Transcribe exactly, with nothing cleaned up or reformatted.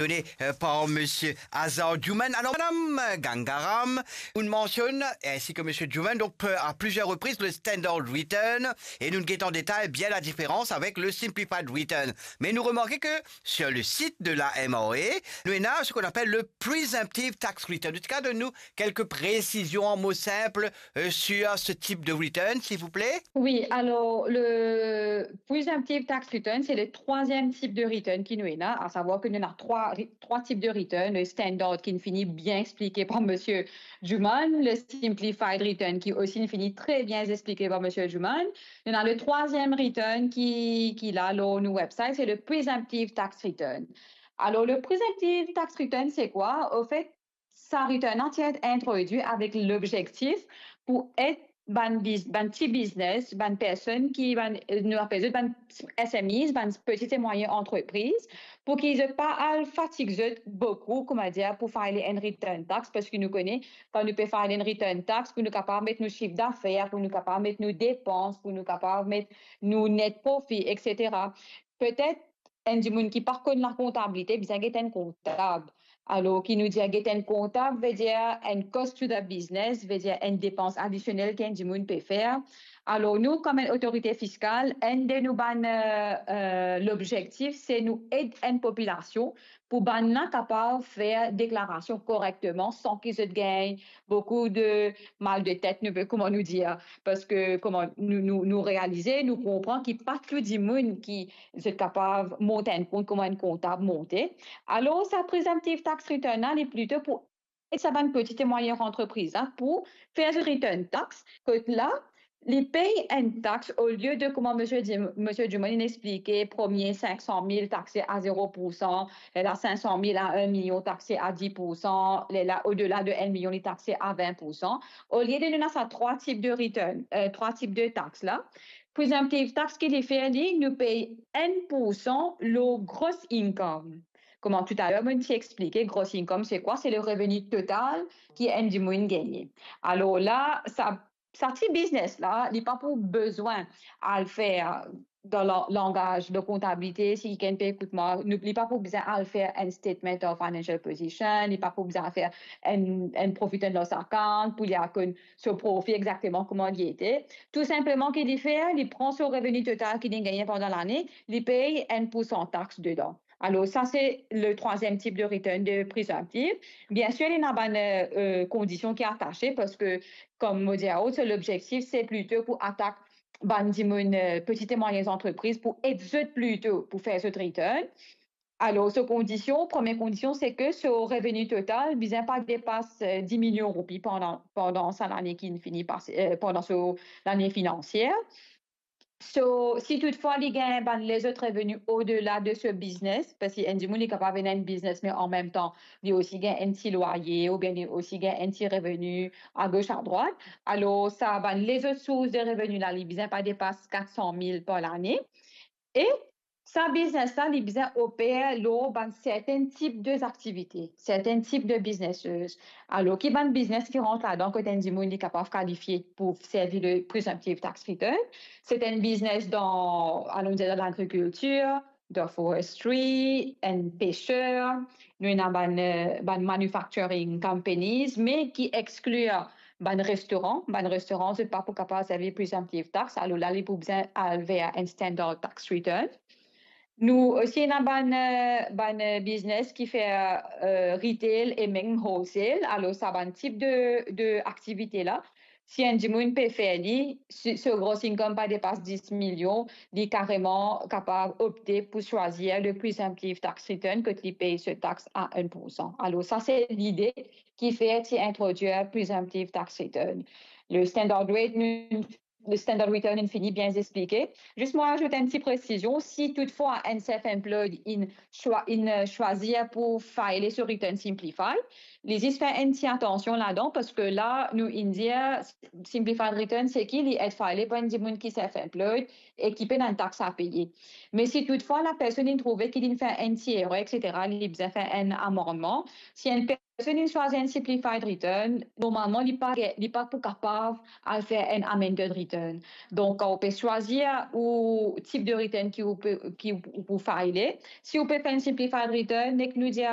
done, euh, par Monsieur Azar Juman. Alors, Madame Gangaram, nou mansionn, ainsi que Monsieur Juman, donc, euh, à plusieurs reprises, le standard return, et nou get an detay bien la différence avec le simplified return. Mais nou remarke que sur le site de la M R A, nou ena ce qu'on appelle le presumptive tax return. Ou ti kapav donn nou quelques précisions en mots simples, euh, sur ce type de return, s'il vous plaît? Oui, alors, le presumptive tax return, c'est le troisième type de return ki nou ena, à savoir que nou ena trois, trois types de return, le standard ki fini bien expliqué par Monsieur Juman, le simplified return ki osi fini très bien expliqué par Monsieur Juman. Nou ena le troisième return ki, ki la lor nou website, c'est le presumptive tax return. Alors, le presumptive tax return, c'est quoi? Au fait, sa return la ti introdwi avek lobzektif pou ed bann biz-, bann ti biznes, bann personn ki, bann, nou apel zot bann S M Es, bann petit et moyen entreprise, pou ki zot pa al fatig zot boukou, kouma dir, pou file enn return tax, parski nou kone, kan nou pe file enn return tax, pou nou kapav met nou sif dafer, pou nou kapav met nou depans, pou nou kapav met nou net profi, et cetera. Petet enn dimoun ki pa konn lakontabilite, bizin get enn kontab. Alor, ki nou dir get enn kontab, vedir enn cost to the business, vedir enn depans adisionel ki enn dimoun pe fer. Alor, nou, kouma enn otorite fiskal, enn de nou bann, euh, euh, lobzektif, se nou ed enn popilasion pou bann la kapav fer deklarasion korekteman san ki zot gagn boukou de mal de tet, nou, kouma nou dir. Parski, kouma nou, nou, nou realize, nou konpran ki pa tou dimoun ki zot kapav mont enn kont kouma enn kontab monte. Alor, sa presumptive tax return la, li plito pou ed sa bann petit et moyen entreprise la pou fer zot return tax, kot la, li pey enn tax, olie de, kouma Monsieur Di-, Monsieur Juman inn explike, premie cinq cent mille taxe à zéro pour cent, lerla cinq cent mille à un million taxe à dix pour cent, lerla au-delà de un million li taxe à vingt pour cent. Olie de nou ena sa trois types de return, euh, trois types de taxe la, presumptive tax ki li fer li, nou pey enn pour san lor gross income. Kouma toutaler mo ti explike, gross income se kwa? Se le revenu total ki enn dimoun gagne. Alor la, sa, sa ti biznes la, li pa pou bizin al fer, dan la-, langaz de kontabilite, si kikenn pe ekout mwa, nou, li pa pou bizin al fer enn statement of financial position, li pa pou bizin al fer enn, enn profit and loss account pou li al konn so profi exakteman kouma li ete. Tou sinpleman ki li fer, li pran so reveni total ki li gagne pandan lane, li pey enn pour san tax dedan. Alor, sa se le troisième type de return de presumptive. Biensir, li ena bann, euh, euh, kondision ki atase, parski, kouma mo dir aou, so lobzektif, se plito pou atak bann dimoun, euh, petit et moyen entreprise pou ed zot plito pou fer zot return. Alor, so kondision, premie kondision, se ki so reveni total bizin pa depas, euh, dix millions roupi pandan, pandan sa lane ki fini pase, euh, pandan so lane finansier. So, si toutfwa li gagn bann lezot reveni au-delà de so biznes, parski enn dimoun li kapav ena enn biznes, me an mem tan, li osi gagn enn ti lwaye, oubien li osi gagn enn ti reveni a gos, a drwat, alor sa bann lezot sours de reveni la, li bizin pa depas kat san mil par lane. E sa biznes la, li bizin oper lor bann serten tip de aktivite, serten tip de businesses. Alor, ki bann biznes ki rant ladan kot enn dimoun li kapav kalifie pou servi le presumptive tax return? Se enn biznes dan, anon dir, dan lagrikiltir, dan forestry, enn peser, nou ena bann, euh, bann manufacturing companies, me ki exklir bann restoran. Bann restoran, zot pa pou kapav servi presumptive tax, alor la, li pou bizin al ver enn standard tax return. Nou osi ena bann, euh, bann, euh, biznes ki fer, euh, retail e mem wholesale. Alor, sa bann tip de, de aktivite la, si enn dimoun pe fer li, si so gross income pa depas dis milion, li kareman kapav opte pou swazir le presumptive tax return, kot li pey so tax a enn pour san. Alor, sa se lide ki fer ti introdwir presumptive tax return. Le standard rate, nou, le standard return, inn fini bien explike. Zis mo azout enn ti presizion, si toutfwa enn self-employed inn swa-, inn, euh, swazir pou file so return simplified, li zis fer enn ti atansion ladan, parski la, nou inn dir simplified return, se ki li ed file par enn dimoun ki self-employed e ki pena enn tax a peye. Me si toutfwa lapersonn inn trouve ki li inn fer enn ti erer, et cetera, li bizin fer enn amannman. Si enn personn inn swazir enn simplified return, normalman, li pa, li pa pou kapav al fer enn amended return. Donk, kan ou pe swazir ou tip de return ki ou pe, ki ou pou file, si ou pe fer enn simplified return, nek nou dir